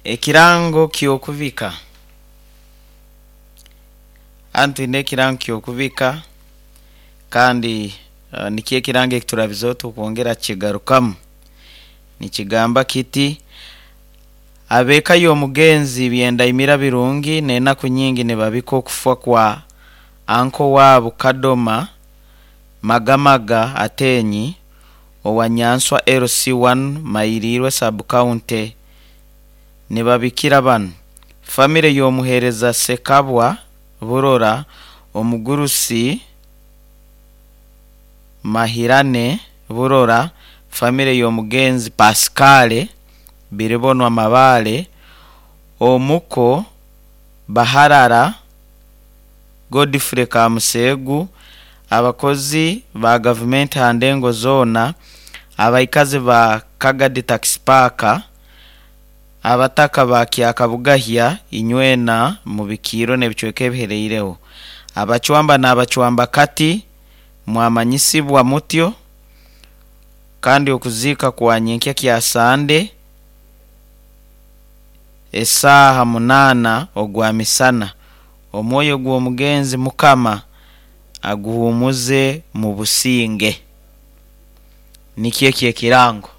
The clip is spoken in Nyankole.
Ekirango ky'okubika. Hanu twine ekirango ky'okubika kandi nikyo ekirango eki turabizeho turikwongera kukigarukamu. Nikigamba kiti, Ab'eka y'omugenzi Byendaimira Birungi n'enaku nyingi nibabika okufa kwa anko waabo Kadoma Magamaga Atenyi owa Nyanswa LC1 Mayirirwe Sub-County. Nibabikira banu, Famire y'omuheereza Ssekabwa Burora, omugurusi Mahirane Burora, famire y'omugenzi Pascal Biribonwa Mabaale, omuko Baharara Godfrey Kamuseegu, abakozi ba gavumenti aha ndengo zoona, abaikazi ba Kagadi Taxi Park, Abataka ba Kyakabugahya inywena mubikiirwe n'ebicweka ebihereireho. Abacwamba n'abacwambakati mwamanyisibwa mutyo, kandi okuziika kwa nyenkya kya Sande esaaha munaana ogwa misana. Omwoyo gw'omugenzi Mukama aguhuumuze mu businge. Nikyo ekyo ekirango.